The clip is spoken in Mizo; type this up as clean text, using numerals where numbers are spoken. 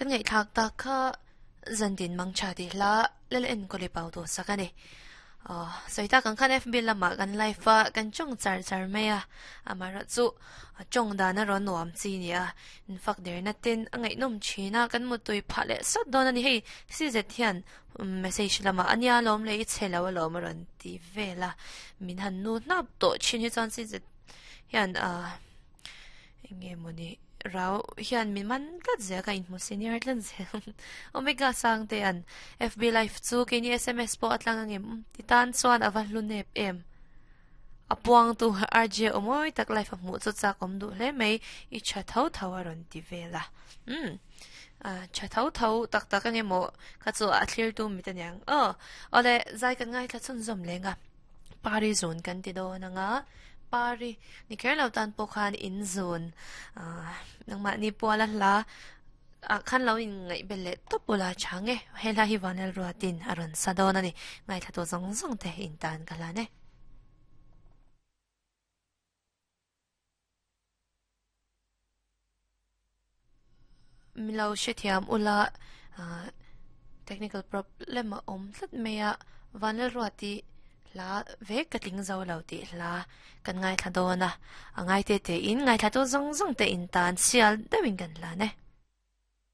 Kan ngaihthlak tak kha zantin mangtha tih hla lal enkawl i pau tawh sak a ni. Aw, sawi tak ang khan FB lamah kan live a, kan tawng char char mai a, amaherawh chu tawng dan a rawn nuam chi ni a, infak derna ten a ngaihnawm thin a, kan mutui phah leh sawt dawn a ni. Hei CZ hian message lamah a nia lawm leh i chhe lo alawm a rawn ti vel a, min han nu hnap tawh thin hi chuan CZ hian ah Enge mawni rau hian min man tlat zel ka inhmu senior tlat zel. Omega Sangte an FB live chu keini sms pawh a tlang angem ti tan chuan a va hlu nep em. A puang tu RJ awmawi tak live a hmuh chu chak awm duh hle mai i tha tho tho a rawn ti vel a. Umm tha tho tho tak tak ange maw kha chu a thlir tu mit aniang. Aw awle zai kan ngaithla chhunzawm leng a. Pari zun kan ti dawn ang a, pari ni kher lo tan pawh khan in zun ah nangmahni puala hla ah khan lo in ngaih bel leh tawp ula tha nge he hla hi Vanel Ruatin a rawn sa dawn a ni ngaithla tu zawng zawng te in tan ka hlan e. Milo hrethiam ula technical problem a awm tlat mai a Vanlalruati hla vek ka tling zo lo tih hla kan ngaithla dawn a a ngaite te in ngaithla tu zawng zawng te in tan sial deuhin kan hlan e.